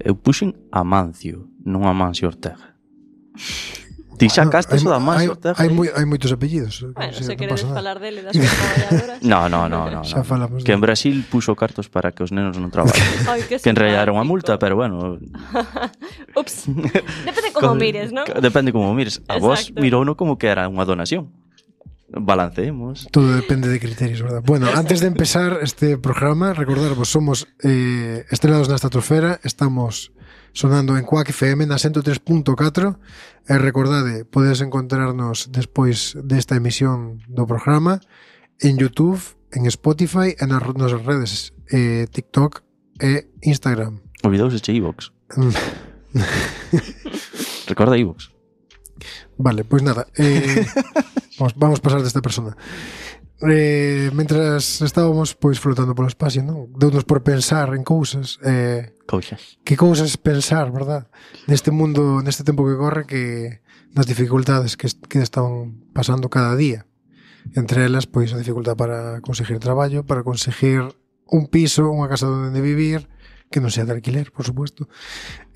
Eu puxen Amancio, non Amancio Ortega. Ti xa castes o da Amancio Ortega? Hai moitos apellidos. Bueno, se queredes falar dele, das súas traballadoras. No. Xa falamos. Que en Brasil puxo cartos para que os nenos non traballen. Que en realidad era unha multa, pero bueno. Ups. Depende como mires, ¿no? Depende como mires. A vos Exacto. mirouno como que era unha donación. Balanceemos. Todo depende de criterios, verdad? Bueno, antes de empezar este programa, recordaros, somos Estrelados na Estratosfera, estamos sonando en Quack FM na 103.4 e recordade, podedes encontrarnos despois desta emisión do programa en YouTube, en Spotify e nas nosas redes TikTok e Instagram. Olvidouse che iVox. Recorda iVox. Vale, pois nada, vamos pasar desta persona. Mentras estábamos pois flotando polo espacio, non? Deunos por pensar en cousas, Cousas. que cousas pensar, verdad? Neste mundo, neste tempo que corre, que nas dificultades que están pasando cada día. Entre elas, pois a dificultade para conseguir traballo, para conseguir un piso, unha casa onde vivir, que non sea de alquiler, por supuesto.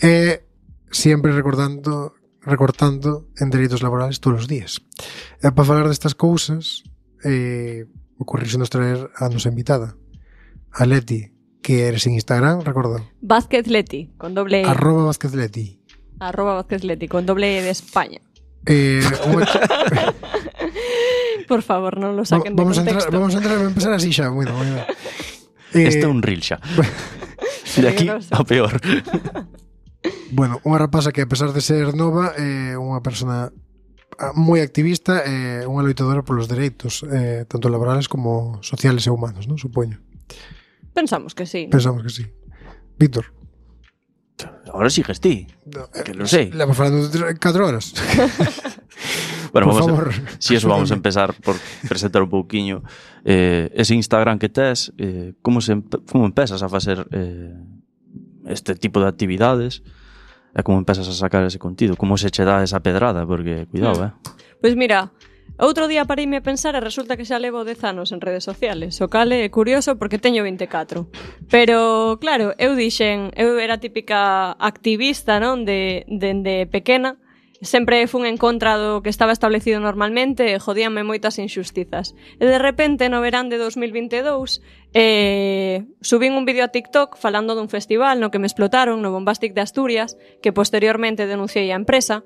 E sempre recortando en dereitos laborales todos os días. E para falar destas cousas, ocorrísenos traer a nosa invitada, a Leti, que eres en Instagram, recordo. Vázquez Leti, con doble E. @Vázquez Leti. @Vázquez Leti, con doble E de España. Por favor, non lo saquen de contexto. Vamos a empezar así xa. Bueno. Este é un reel xa. De aquí a peor. Bueno, unha rapaza que a pesar de ser nova é unha persona moi activista e unha loitadora polos dereitos tanto laborales como sociales e humanos, non? Supoño. Pensamos que sí. Pensamos que sí. Víctor. Ahora sigues ti. Que lo sei. Levamos falando de 4 horas. Bueno, por favor. Si eso vamos a empezar por presentar un pouquiño ese Instagram que tes, como empezas a facer este tipo de actividades e como empezas a sacar ese contido, como se che dá esa pedrada, porque cuidado, Pois mira, outro día pareime a pensar e resulta que xa levo 10 anos en redes sociales, o cal é curioso porque teño 24. Pero, claro, eu era típica activista, non, dende pequena. Sempre fun en contra do que estaba establecido normalmente e jodíanme moitas injustizas. E de repente, no verán de 2022, subín un vídeo a TikTok falando dun festival no que me explotaron no Bombastic de Asturias, que posteriormente denunciei a empresa.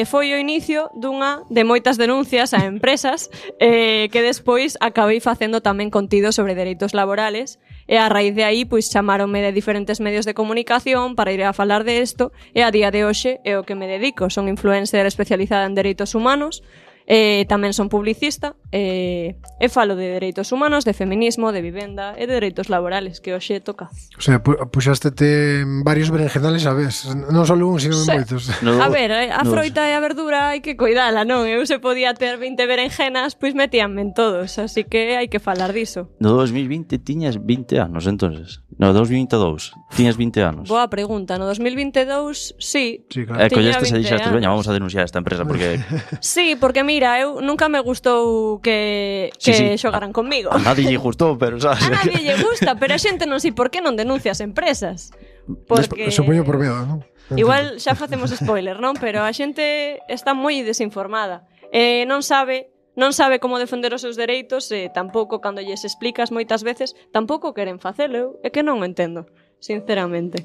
Foi o inicio dunha de moitas denuncias a empresas que despois acabei facendo tamén contido sobre dereitos laborales e a raíz de aí pois chamáronme de diferentes medios de comunicación para ir a falar de isto e a día de hoxe é o que me dedico. Son influencer especializada en dereitos humanos, tamén son publicista e falo de dereitos humanos, de feminismo, de vivenda e de dereitos laborales que hoxe toca. O sea, puxástete varios berenjenales a vez, non só un, sino moitos. A ver, a froita e a verdura hai que cuidala, non? Eu se podía ter 20 berenjenas, pois metíanme en todos, así que hai que falar diso. No 2020 tiñas 20 anos, entonces. No 2022 tiñas 20 anos. Boa pregunta, no 2022 sí. Sí, claro. Collestes e dixestes, veña, vamos a denunciar esta empresa porque Sí, porque mira, eu nunca me gustou que xogaran conmigo. A nadie lle gustou, pero sabes. A nadie lle gusta, pero a xente non sei por que non denuncia as empresas. Porque Supoño por medo, non? Igual xa facemos spoiler, non? Pero a xente está moi desinformada. Non sabe como defender os seus dereitos e tampouco, cando lles explicas moitas veces, tampouco queren facelo. É que non o entendo, sinceramente.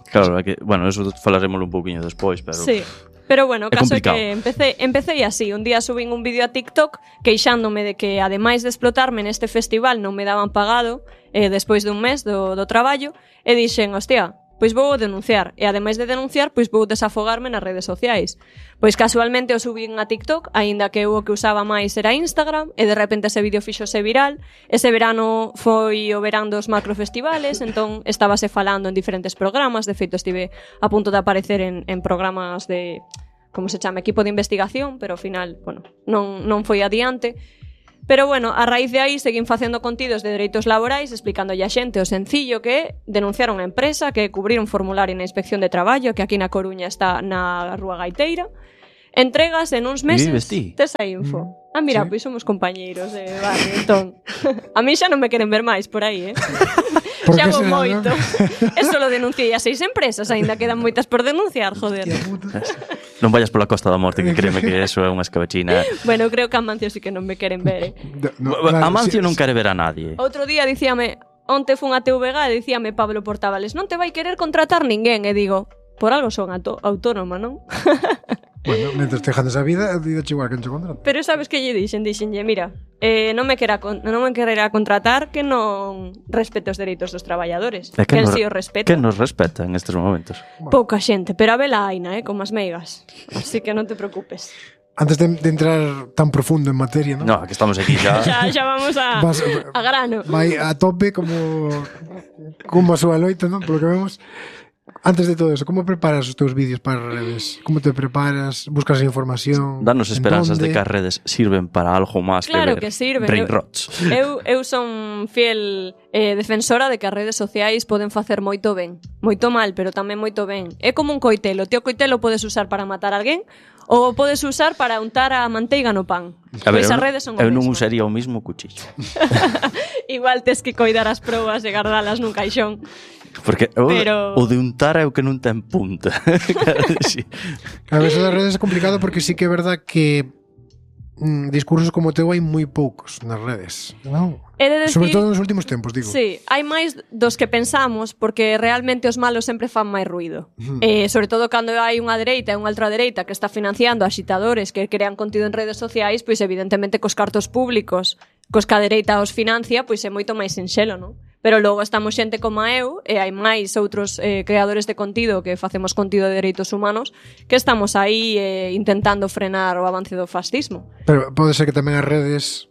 Claro, é que, bueno, eso falaremos un pouquiño despois, pero sí. Pero bueno, o caso é complicado. que empecé así. Un día subín un vídeo a TikTok queixándome de que, ademais de explotarme neste festival, non me daban pagado despois dun mes do traballo, e dixen, hostia, pois vou denunciar. E ademais de denunciar, pois vou desafogarme nas redes sociais. Pois casualmente o subín a TikTok, aínda que eu o que usaba máis era Instagram, e de repente ese vídeo fíxose viral. Ese verano foi o verán dos macrofestivales, entón estábase falando en diferentes programas. De feito, estive a punto de aparecer en programas de, como se chama, equipo de investigación, pero ao final, bueno, non foi adiante. Pero bueno, a raíz de aí seguín facendo contidos de dereitos laborais, explicándolle a xente o sencillo que é denunciar unha empresa, que é cubrir un formulario na Inspección de Traballo, que aquí na Coruña está na Rúa Gaiteira, entregas en uns meses Vives ti? tes a info. Mira, pois somos compañeiros de barrio, entón. A mí xa non me queren ver máis por aí, Por xa que vou será, moito. non? Eso lo denunciei a 6 empresas, aínda quedan moitas por denunciar, joder. Non vayas pola Costa da Morte, que créeme que eso é unha escabechina. Bueno, creo que a Amancio sí que non me queren ver, Amancio non quere ver a nadie. Outro día dicíame, onte fun a TVG e dicíame Pablo Portavales, non te vai querer contratar ninguén, e digo, por algo son autónoma, non? Bueno, mentre te esa vida igual que non te contrato. Pero sabes que lle dixenlle, mira, non me quererá contratar que non respete os dereitos dos traballadores. Que si os respeta. Que nos respeta en estes momentos? Pouca xente, pero a vela aina, como as meigas. Así que non te preocupes. Antes de entrar tan profundo en materia, ¿no? No, que estamos aquí xa. Xa vamos a grano. Vai a tope como a súa loita, ¿no? Por lo que vemos. Antes de todo eso, como preparas os teus vídeos para as redes? Como te preparas? Buscas información? Danos esperanzas de que as redes sirven para algo máis claro que ver que sirven. brain rots. Eu son fiel defensora de que as redes sociais poden facer moito ben. Moito mal, pero tamén moito ben. É como un coitelo. O coitelo podes usar para matar a alguén ou podes usar para untar a manteiga no pan. Pois as redes son o mesmo. Eu mesmo. non usaría o mismo cuchillo. Igual tes que coidar as probas e guardalas nun caixón. Porque o de untar é o que non ten punta. Sí. A veces das redes é complicado porque sí que é verdad que discursos como o teu hai moi poucos nas redes, non? Sobre todo nos últimos tempos, digo. Sí, hai máis dos que pensamos porque realmente os malos sempre fan máis ruido. Sobre todo cando hai unha dereita e unha ultradereita que está financiando axitadores que crean contido en redes sociais, pois evidentemente cos cartos públicos, cos que a dereita os financia, pois é moito máis sinxelo, non? Pero logo estamos xente como eu e hai máis outros creadores de contido que facemos contido de dereitos humanos que estamos aí intentando frenar o avance do fascismo. Pero pode ser que tamén as redes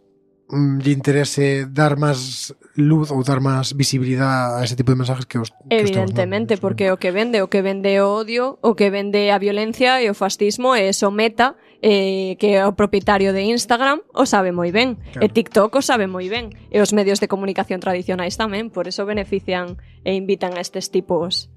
lle interese dar máis luz ou dar máis visibilidade a ese tipo de mensajes que os evidentemente, porque o que vende o odio, o que vende a violencia e o fascismo é o Meta, que é o propietario de Instagram, o sabe moi ben, claro. E TikTok o sabe moi ben, e os medios de comunicación tradicionais tamén, por eso benefician e invitan a estes tipos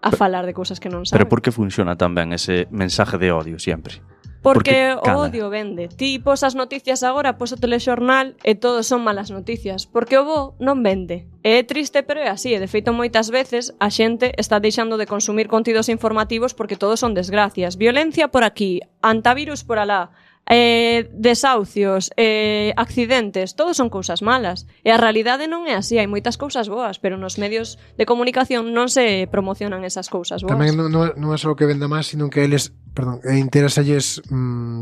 a falar de cousas que non saben. Pero por que funciona tan ben ese mensaje de odio sempre? Porque o odio vende. Ti pos as noticias agora, pos o telexornal e todos son malas noticias. Porque o bo non vende. É triste, pero é así. E de feito moitas veces a xente está deixando de consumir contidos informativos porque todos son desgracias. Violencia por aquí, antivirus por alá, desahucios, accidentes, todos son cousas malas. E a realidade non é así, hai moitas cousas boas, pero nos medios de comunicación non se promocionan esas cousas boas. Tamén non é só que venda máis, sino que eles, interésalles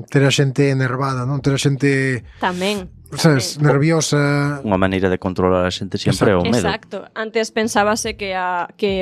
ter a xente enervada, non? Ter a xente tamén, sabes, nerviosa. Unha maneira de controlar a xente sempre é o medo. Exacto. Antes pensábase que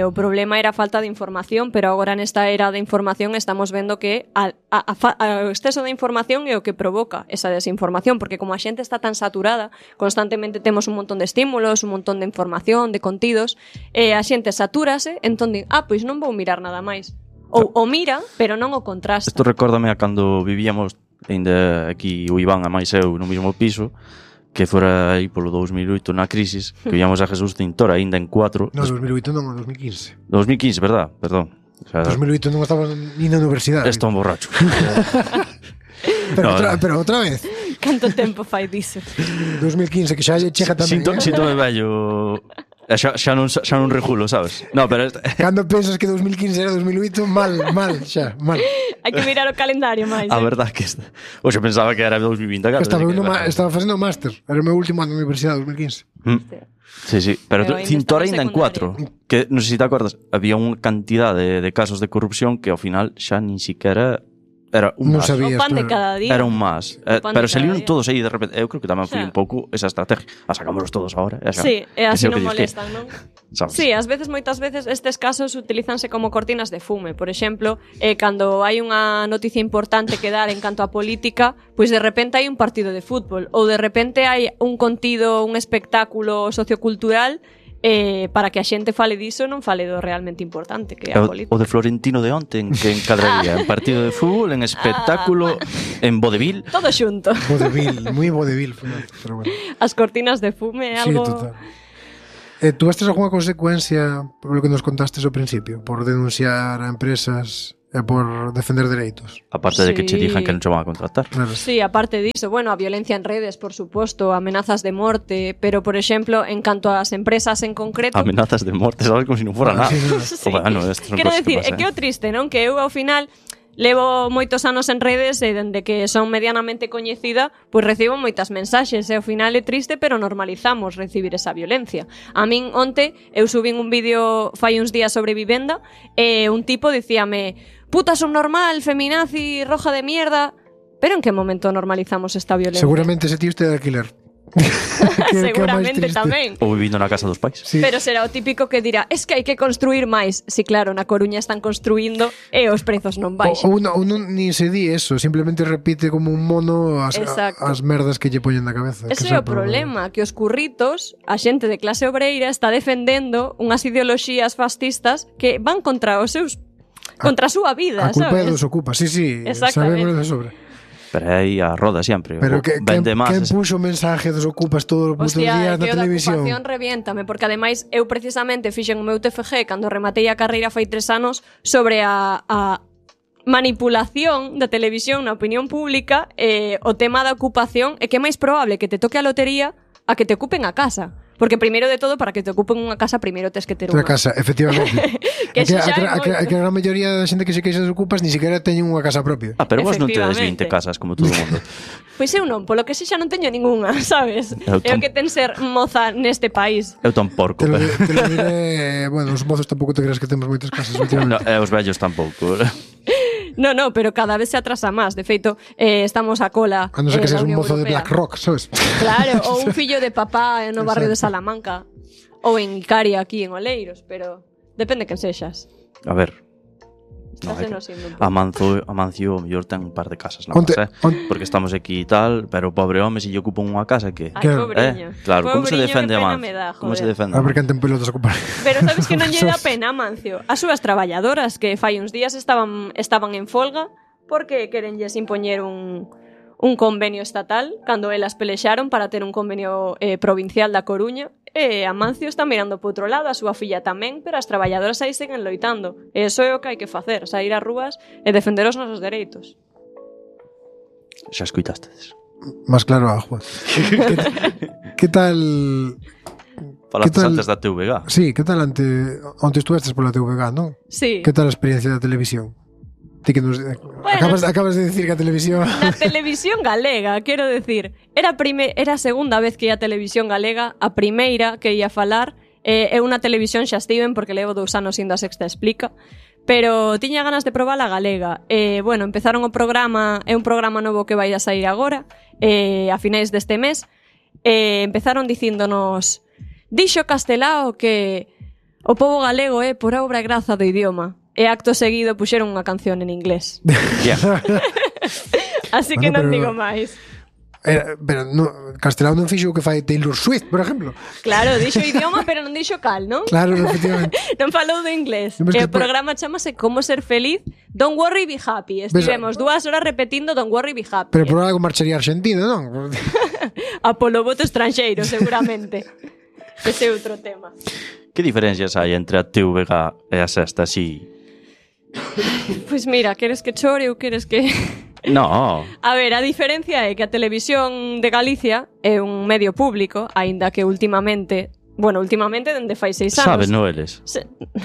o problema era a falta de información, pero agora nesta era de información estamos vendo que o exceso de información é o que provoca esa desinformación, porque como a xente está tan saturada, constantemente temos un montón de estímulos, un montón de información, de contidos, e a xente satúrase, entón di, pois non vou mirar nada máis. Ou o mira, pero non o contrasta. Isto recórdame a cando vivíamos ainda aquí o Iván e máis eu no mesmo piso, que fora aí polo 2008 na crisis, que víamos a Jesús Cintor ainda en 4. No, 2008 non, 2015. 2015, verdad? Perdón. O sea, 2008 non estaba ni na universidade. Estou un borracho. pero outra vez. Canto tempo fai diso? 2015, que xa chega tamén. Sinto vello. Xa non regulo, sabes? No, pero cando pensas que 2015 era 2008, mal. Hai que mirar o calendario máis. A verdade que hoxe pensaba que era 2024. Estaba facendo o máster. Era o meu último ano de universidade, 2015. Sí, pero Cintor ainda en 4. Que non sei se te acordas, había unha cantidade de casos de corrupción que ao final xa nin siquiera era un non más. Sabías, o pan de cada día. Era un más. Pero salieron todos aí de repente. Eu creo que tamén foi un pouco esa estrategia. A sacámonos todos agora. Sí, e así non molestan, non? ¿Sabes? Sí, moitas veces estes casos utilizanse como cortinas de fume. Por exemplo, cando hai unha noticia importante que dar en canto a política, pois de repente hai un partido de fútbol ou de repente hai un contido, un espectáculo sociocultural para que a xente fale diso, non fale do realmente importante que é a política. O de Florentino de onte, en que encadraría? En partido de fútbol, en espectáculo, en vodevil. Todo xunto. Vodevil, moi vodevil. Pero bueno. As cortinas de fume é algo... Sí, total. ¿Tuvaste alguna consecuencia por lo que nos contaste ao principio? Por denunciar a empresas é por defender dereitos. Aparte de que che Sí. digan que non che van a contratar. Claro. Sí, aparte diso, bueno, a violencia en redes, por suposto, amenazas de morte, pero, por exemplo, en canto ás empresas en concreto... Amenazas de morte, sabes, como se non fora nada. Sí, no. Sí. Bueno, estas son Quero cosas decir, que é que é o pasan. triste, non? Que eu, ao final, levo moitos anos en redes e dende que son medianamente coñecida, pois recibo moitas mensaxes e ao final é triste, pero normalizamos recibir esa violencia. A min onte eu subín un vídeo fai uns días sobre vivenda e un tipo dicíame: "Puta subnormal, feminazi, roja de mierda". Pero en que momento normalizamos esta violencia? Seguramente ese tío este de alquiler. Que- que é o máis Seguramente triste. tamén. Ou vivindo na casa dos pais. Sí. Pero será o típico que dirá: "Es que hai que construir máis". Si claro, na Coruña están construindo e os prezos non baixan. Ou non ni se di eso, simplemente repite como un mono Exacto. as merdas que lle poñen na cabeza. Ese é o problema, que os curritos, a xente de clase obreira está defendendo unhas ideoloxías fascistas que van contra os seus contra a súa vida, A culpa é sabes? dos ocupas, sí, Exactamente. sabemos de sobra. Pero aí a roda sempre. Pero que, vende quen máis. puxo o mensaje dos ocupas todos os putos Hostia, días na que o da televisión? ocupación reviéntame, porque ademais eu precisamente fixen o meu TFG cando rematei a carreira fai 3 anos sobre a manipulación da televisión na opinión pública e o tema da ocupación é que é máis probable que te toque a lotería a que te ocupen a casa. Porque primeiro de todo, para que te ocupen unha casa, primeiro tes que ter Outra unha. casa, efectivamente. Que É xa é moito. a gran maioría da xente que se queixa dos ocupas ni siquiera teñen unha casa propia. Ah, pero vos non tedes 20 Efectivamente. casas como todo o mundo. Pois eu non, polo que xa non teño ningunha, sabes? Eu É o que ten ser moza neste país. Eu tan porco, Te lo, pero... te lo diré, bueno, os mozos tampouco te creas que temos moitas casas No, últimamente. os vellos tampouco. No, pero cada vez se atrasa máis. De feito, estamos a cola A non ser que da seas un Unión mozo de Europea. Black Rock, sabes? Claro, ou un fillo de papá no barrio de Exacto. Salamanca. Ou en Icaria, aquí en Oleiros. Pero depende quen sexas. A ver. No, Estás é que enosindo un pouco. Amancio, o mellor ten un par de casas na Onte- más, porque estamos aquí e tal, pero o pobre home se lle ocupan unha casa que... Ai, Claro. pobriño. Claro, como se Pobriño, defende que pena Amancio? me da, Como se joder. defende? A ver quen ten pelotas a ocupar. Pero sabes que non lle dá pena, Amancio? As súas traballadoras que fai uns días estaban en folga porque querenlles impoñer un convenio estatal cando elas pelexaron para ter un convenio provincial da Coruña e Amancio está mirando por outro lado, a súa filla tamén, pero as traballadoras aí seguen loitando. E iso é o que hai que facer, sair ás rúas e defender os nosos dereitos. Xa escuitastedes. Más claro agua. ¿Qué tal? Falaste tal? antes da TVG. Sí, ¿qué tal onte estuvestes pola TVG, non? Sí. ¿Qué tal a experiencia da televisión? Ti que nos, acabas de decir que a televisión... Na televisión galega, quero decir, era a segunda vez que ia a televisión galega, a primeira que ia falar, é unha televisión xa estiven porque levo 2 anos indo a Sexta Explica, pero tiña ganas de probar a galega. Bueno, empezaron o programa, é un programa novo que vai a sair agora, a finais deste mes, empezaron dicíndonos: "Dixo Castelao que o pobo galego é por obra e graza do idioma". E acto seguido puxeron unha canción en inglés. Yeah. Así que Bueno, non pero- digo máis. Pero no, Castelao non fixo o que fai Taylor Swift, por exemplo. Claro, dixo idioma, pero non dixo cal, non? Claro, efectivamente. Non falou de inglés. Non, E mas o que programa chamase Como ser feliz, Don't worry, be happy. Estivemos 2 horas repetindo Don't worry, be happy. Pero por algo marcharía a Argentina, non? A polo voto estranxeiro, seguramente. Ese é outro tema. Que diferencias hai entre a TVG e a Sexta, así? Pois mira, queres que chore ou queres que... No, A ver, a diferencia é que a televisión de Galicia é un medio público, aínda que últimamente dende fai 6 anos. saben, no eles.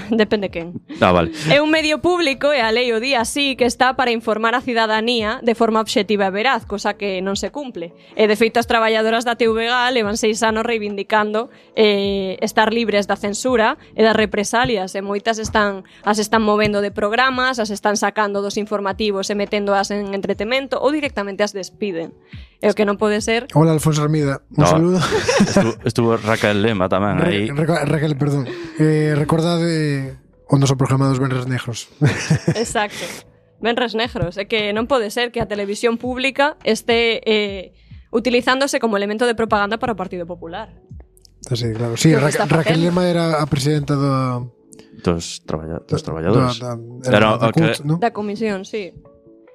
Depende quen. Ah, vale. É un medio público e a lei o di así que está para informar a cidadanía de forma obxectiva e veraz, cosa que non se cumple. E de feito as traballadoras da TVG levan 6 anos reivindicando estar libres da censura e das represalias, e moitas as están movendo de programas, as están sacando dos informativos e meténdoas en entretemento ou directamente as despiden. E o que non pode ser... Hola, Alfonso Armida. Un No. saludo. Estuvo Raquel Lema tamén aí. Raquel, perdón. Recordade o noso programa dos Benres Negros. Exacto. Venres negros. É que non pode ser que a televisión pública este utilizándose como elemento de propaganda para o Partido Popular. Sí, claro. Sí, Creo que está Raquel facendo. Lema era a presidenta Dos traballadores. Era Era o que- CUT, ¿no? Da comisión, sí.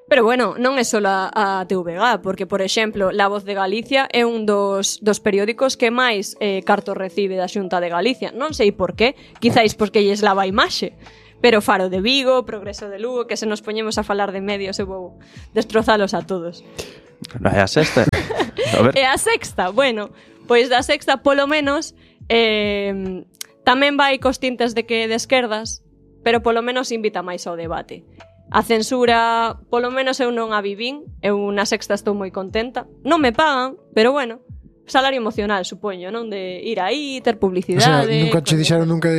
Pero bueno, non é só a TVG, porque, por exemplo, La Voz de Galicia é un dos periódicos que máis cartos recibe da Xunta de Galicia. Non sei por qué, quizáis porque lles lava a imaxe. Pero Faro de Vigo, Progreso de Lugo, que se nos poñemos a falar de medios eu vou destrozalos a todos. É a sexta. A ver. E a sexta, bueno, pois da sexta polo menos tamén vai cos tintes de que de esquerdas, pero polo menos invita máis ao debate. A censura, polo menos eu non a vivín, eu na sexta estou moi contenta. Non me pagan, pero bueno, salario emocional, supoño, non? De ir aí, ter publicidade... O sea, nunca che dixeron nunca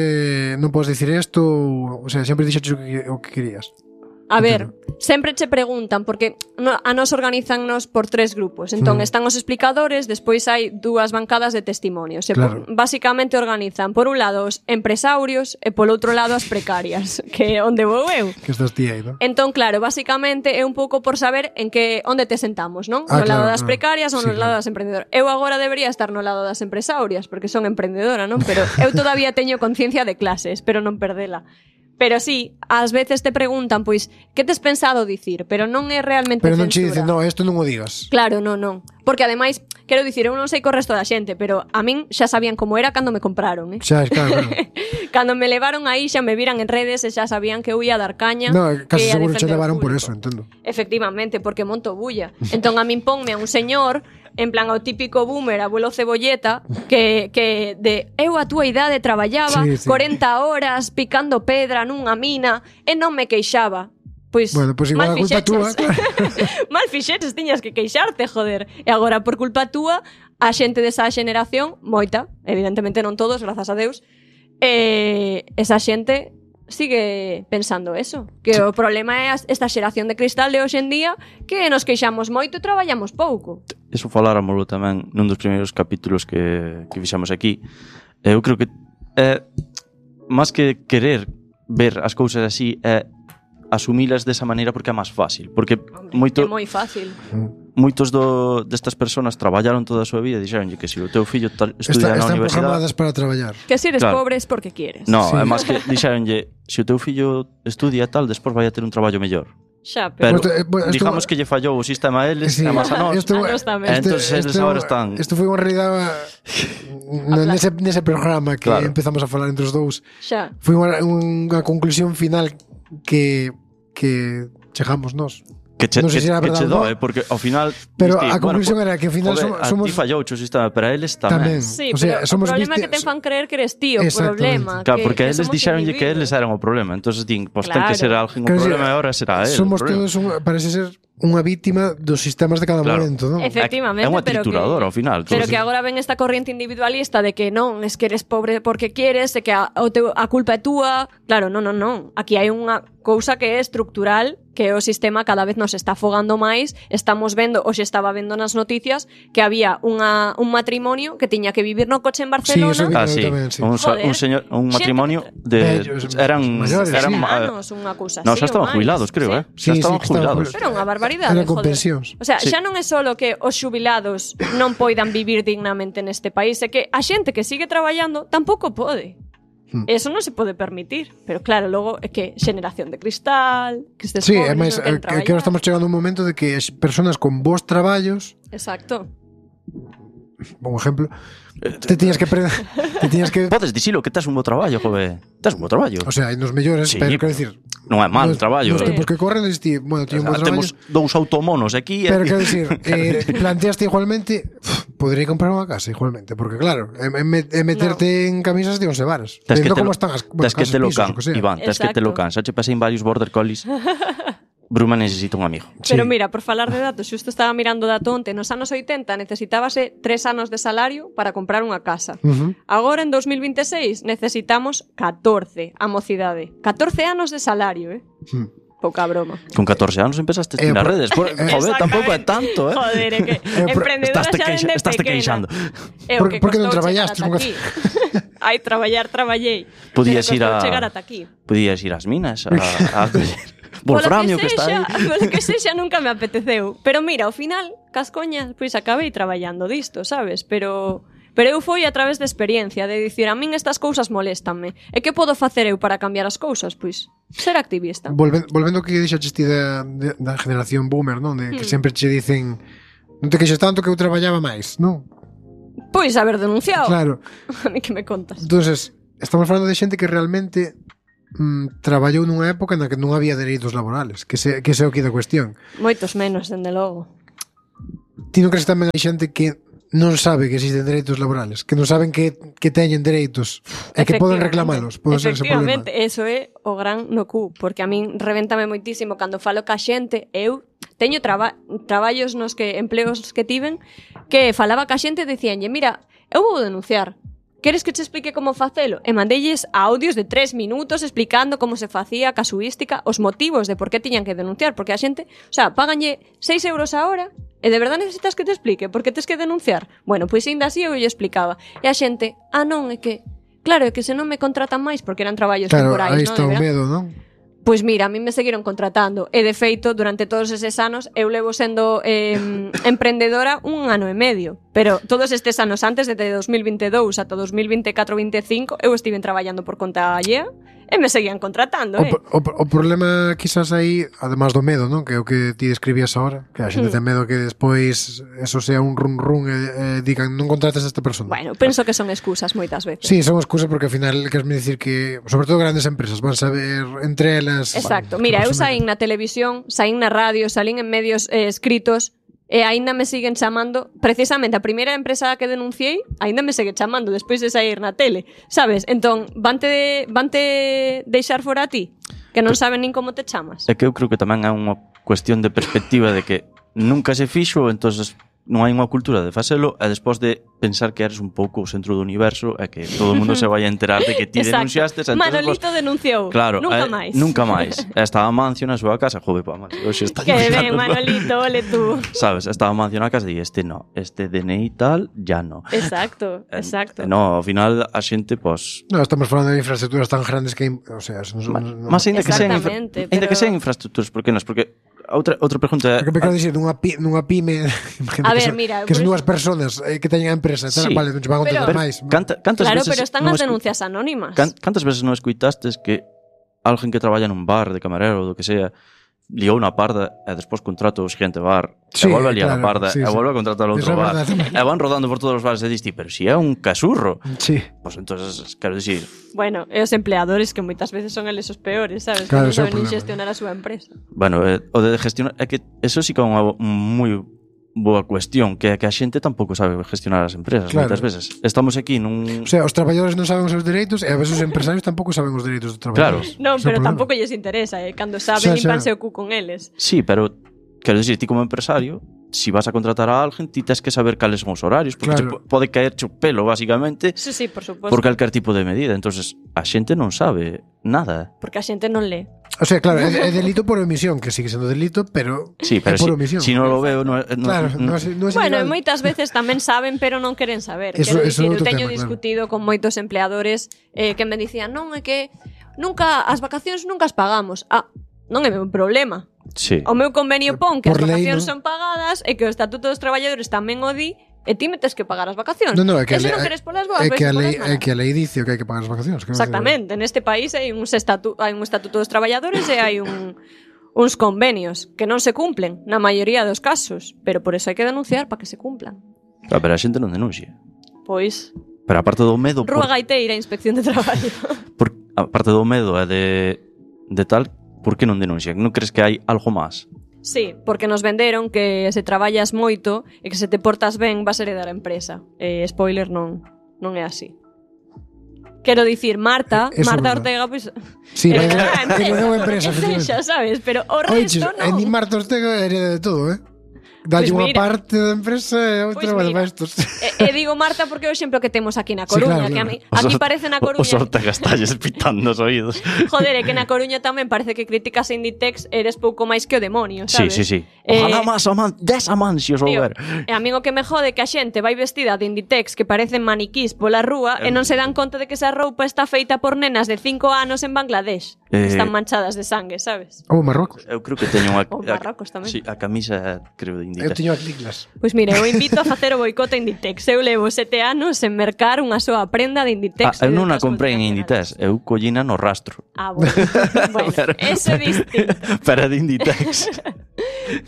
non podes dicir isto, o sea, sempre dixeches o que querías. A ver, sempre che preguntan, porque a nos organizannos por 3 grupos. Entón, están os explicadores, despois hai 2 bancadas de testimonios. Claro. Basicamente organizan, por un lado, os empresarios e polo outro lado as precarias, que é onde vou eu. Que estás ti aí, non? Entón, claro, basicamente é un pouco por saber en que onde te sentamos, non? No lado das precarias ou no lado das emprendedoras. Eu agora debería estar no lado das empresarias, porque son emprendedora, non? Pero eu todavía teño conciencia de clase, espero non perdela. Pero sí, ás veces te preguntan, pois, que tes pensado dicir? Pero non é realmente pero non che censura. dicen, no, isto non o digas. Claro, non. Porque ademais, quero dicir, eu non sei co resto da xente, pero a min xa sabían como era cando me compraron, Xa, claro. Cando me levaron aí xa me viran en redes e xa sabían que eu ia dar caña. No, casi que ia seguro che defender o levaron por público. eso, entendo. Efectivamente, porque monto bulla. Entón a min ponme a un señor, en plan ao típico boomer, abuelo cebolleta, que de eu a túa idade traballaba Sí. 40 horas picando pedra nunha mina e non me queixaba. Pois, Bueno, pois igual a culpa túa. Mal fixeches, tiñas que queixarte, joder. E agora, por culpa túa, a xente desa xeneración, moita, evidentemente non todos, grazas a Deus, esa xente sigue pensando eso, que o problema é esta xeración de cristal de hoxe en día, que nos queixamos moito e traballamos pouco. Eso faláramoslo tamén nun dos primeiros capítulos que fixamos aquí. Eu creo que é máis que querer ver as cousas así, é asumilas desa maneira porque é máis fácil, porque É moi fácil. moitos destas persoas traballaron toda a súa vida e dixeronlle que se o teu fillo estudia na Están universidade, programadas para traballar. Que si eres Claro. pobre es porque quieres. no, Sí. é máis que dixeronlle se o teu fillo estudia tal, despois vai a ter un traballo mellor. Xa, Pero Esto- digamos que lle fallou o sistema a eles, Sí. e máis a nós. Esto- A nós tamén. Entonces, eles agora están- Isto foi unha realidade nese programa que Claro. empezamos a falar entre os dous. xa. Foi unha conclusión final que chegamos nós. Que che, Non sei que, se era que che verdade ou doe, porque ao final... Pero diste, a conclusión era que ao final joder, somos a ti fallou o sistema, pero a eles tamén. Tamén. Sí, O sea, pero somos o problema é viste- que te fan creer que eres ti o Exactamente. problema. Claro, porque que eles somos dixeronlle que individuos. eles eran o problema. Entonces din, pois ten Claro. que ser alguén o Quero dicir, problema e ahora será el. Somos o problema. todos parece ser unha vítima dos sistemas de cada Claro. momento, non? Efectivamente, É unha pero trituradora ao final. Pero Entonces, que agora ven esta corriente individualista de que non, es que eres pobre porque quieres, e que a culpa é túa. Claro, non. Aquí hai unha cousa que é estructural, que o sistema cada vez nos está afogando máis. Estamos vendo, hoxe estaba vendo nas noticias, que había un matrimonio que tiña que vivir no coche en Barcelona. eso vi. sí. tamén, sí. Un señor, un Xente matrimonio que- de Vellos, eran maiores, eran sí. anos, unha cousa No, así, xa estaban ou máis. jubilados, creo, Sí. Xa Sí, estaban que estaban jubilados. Pero unha barbaridade, Eran con joder. pensións. O sea, Sí. xa non é solo que os xubilados non poidan vivir dignamente neste país, é que a xente que sigue traballando tampouco pode. Eso non se pode permitir. Pero claro, logo é que xeneración de cristal, que estes Sí, pobres ademais, non queren que traballar. ahora estamos chegando a un momento de que as persoas con vos traballos, Exacto. un exemplo, te tiñas que Podes dicilo que tes un bo traballo, jove. Tes un bo traballo. o sea, nos mellores, Sí, pero quero dicir, Non é mal nos traballo. Nos tempos que corren, dicir, bueno, tiño un bo traballo, Temos dous automonos aquí pero quero dicir, planteaste igualmente, podría comprar unha casa igualmente, porque claro, é meterte en camisas de 11 varas. Tes que Vendo te como lo, están as tes que casas, te lo pisos, can, o que sea. Iván, tes que te lo Exacto. can. Xa che pasei en varios border collies. Bruma necesita un amigo. Pero Sí. mira, por falar de datos, xusto estaba mirando dato onte, nos anos 80 necesitábase 3 anos de salario para comprar unha casa. Agora, en 2026, necesitamos 14, a mocidade. 14 anos de salario, Pouca broma. Con 14 anos empezaste nas redes. Joder, tampouco é tanto, Joder, é que emprendedora xa dende Estás te pequena. queixando. É o que Por que non costou traballaste? chegar ata aquí. Ai, traballei. Podías ir Pero a costou chegar ata aquí. Podías ir ás minas a Wolframio que está aí. Polo que sexa nunca me apeteceu. Pero mira, ao final, cas coñas, pois acabei traballando disto, sabes? Pero eu foi a través de experiencia, de dicir, a min estas cousas moléstanme. E que podo facer eu para cambiar as cousas? Pois, ser activista. Volvendo ao que dixaches ti da generación boomer, non? De que sempre che dicen, non te queixes tanto que eu traballaba máis, non? Pois haber denunciado. Claro. A mí que me contas. Entonces, estamos falando de xente que realmente traballou nunha época na que non había dereitos laborales, que ese é o que da cuestión. Moitos menos, dende logo. Ti non crees que tamén hai xente que non sabe que existen dereitos laborales, que non saben que teñen dereitos e que poden reclamalos? Pode ser ese problema. Efectivamente, eso é o gran no cu, porque a min revéntame moitísimo cando falo ca xente. Eu teño traballos nos que empleos que tiven que falaba ca xente e dicíanlle, mira, eu vou denunciar. Queres que te explique como facelo? E mandelles audios de 3 minutos explicando como se facía a casuística, os motivos de por que tiñan que denunciar, porque a xente, o sea, páganlle 6 euros a hora e de verdade necesitas que te explique por que tes que denunciar. Bueno, pois ainda así eu lle explicaba. E a xente, non, é que claro, é que se non me contratan máis porque eran traballos temporais, aí está o medo, non? Pois mira, a mí me seguiron contratando e de feito, durante todos eses anos eu levo sendo emprendedora 1 ano e medio, pero todos estes anos antes, desde 2022 ata 2024-25, eu estive traballando por conta allea e me seguían contratando, O problema quizás aí, además do medo, non? Que é o que ti describías ahora, que a xente ten medo que despois eso sea un run e digan non contrates a esta persona. Bueno, penso que son excusas moitas veces. Sí, son excusas porque ao final queres me dicir que, sobre todo grandes empresas, van saber entre elas. Exacto. Mira, eu saín na televisión, saín na radio, salín en medios escritos e aínda me siguen chamando, precisamente a primeira empresa que denunciei aínda me segue chamando despois de sair na tele, sabes? Entón, vante deixar fora a ti, que non saben nin como te chamas. É que eu creo que tamén é unha cuestión de perspectiva de que nunca se fixo, entonces non hai unha cultura de facelo e despois de pensar que eres un pouco o centro do universo e que todo o mundo se vai a enterar de que ti denunciastes. Manolito denunciou. Claro, nunca máis. Nunca máis. Estaba Mancio na súa casa, jode pa Mancio. Que ben, Manolito, ole tú. Sabes, estaba Mancio na casa e este DNI tal, ya no. Exacto. No, ao final a xente, pues... No, estamos falando de infraestructuras tan grandes que, o sea, Mas ainda que sean infraestructuras, por que non? Porque outra pregunta é... Porque me quero dicir, nunha pyme, a ver, mira, que son dúas personas que teñen a empresa, sí, vale, non che van a contar máis. Claro, pero están as denuncias anónimas. Cantas veces non escuitastes que alguén que traballa nun bar de camarero ou do que sea liou unha parda e despois contrata o siguiente bar e volve a liar a parda e volve a contratar outro bar e van rodando por todos os bares e diste, pero si é un casurro. Sí. Pues entonces, quero dicir... Bueno, e os empleadores que moitas veces son eles os peores, sabes? Claro, que non saben nin xestionar a súa empresa. Bueno, o de gestionar é que eso sí que é unha moi boa cuestión, que a xente tampouco sabe gestionar as empresas, moitas veces. Estamos aquí nun... O sea, os traballadores non saben os seus dereitos e a veces os empresarios tampouco saben os dereitos dos traballadores. Claro. Non, pero tampouco lles interesa, cando saben limpanse o cu con eles. Sí, pero quero dicir, ti como empresario, si vas a contratar a alguén, ti tens que saber cales son os horarios, porque pode caerche o pelo, basicamente, sí, por suposto, por calquer tipo de medida. Entonces, a xente non sabe nada. Porque a xente non lee. O sea, claro, é delito por omisión, que sigue sendo delito, pero sí, pero por omisión. Si non lo veo, claro, non é bueno, moitas veces tamén saben, pero non queren saber. Quero dicir, eu teño discutido con moitos empleadores que me dicían, non, é que as vacacións nunca as pagamos. Non é meu problema. Sí. O meu convenio pon que as vacacións son pagadas e que o Estatuto dos Traballadores tamén o di e ti metes que pagar as vacacións. Non, é que e se non queres polas boas, é que a lei dice que hai que pagar as vacacións. Exactamente. Neste país hai un Estatuto dos Traballadores e hai uns convenios que non se cumplen na maioría dos casos, pero por eso hai que denunciar para que se cumplan. Claro, pero a xente non denuncia. Pois... Pero aparte do medo... Rúa Gaiteira, Inspección de Traballo. Aparte do medo e de tal, por que non denuncian? Non crees que hai algo máis? Sí, porque nos venderon que se traballas moito e que se te portas ben vas heredar a empresa. Spoiler, non é así. Quero dicir, Marta Ortega, pois... Sí, heredou a empresa. Xa sabes, pero o resto non. Ni Marta Ortega hereda de todo, Dalle unha parte da empresa e outra para estos. E digo Marta porque é o exemplo que temos aquí na Coruña, que a mí parece na Coruña... Os Ortega estalles pitando os oídos. Joder, é que na Coruña tamén parece que criticas a Inditex eres pouco máis que o demonio, sabes? Sí. Ojalá máis des amansios ou ver. E a mí o que me jode que a xente vai vestida de Inditex que parecen maniquís pola rúa e non se dan conta de que esa roupa está feita por nenas de 5 anos en Bangladesh. Están manchadas de sangue, sabes? Ou Marrocos. Eu creo que teño unha... Ou Marrocos tamén. Sí, a camisa, creo, de Inditex. Eu teño as liglas. Pois mire, eu invito a facer o boicote a Inditex. Eu levo 7 anos en mercar unha soa prenda de Inditex. Eu non a comprei en Inditex, eu collina no rastro. Bueno, ese é distinto. Pero de Inditex.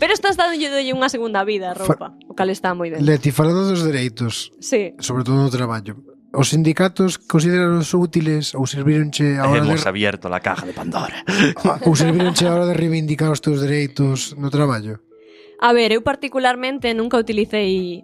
Pero estás dándolle unha segunda vida a roupa, o cal está moi ben. Leti, falando dos dereitos, sí, sobre todo no traballo, os sindicatos consideraros útiles ou servironche a hora Hemos de abierto la caja de Pandora. ou servironche a hora de reivindicar os teus dereitos no traballo? A ver, eu particularmente nunca utilicei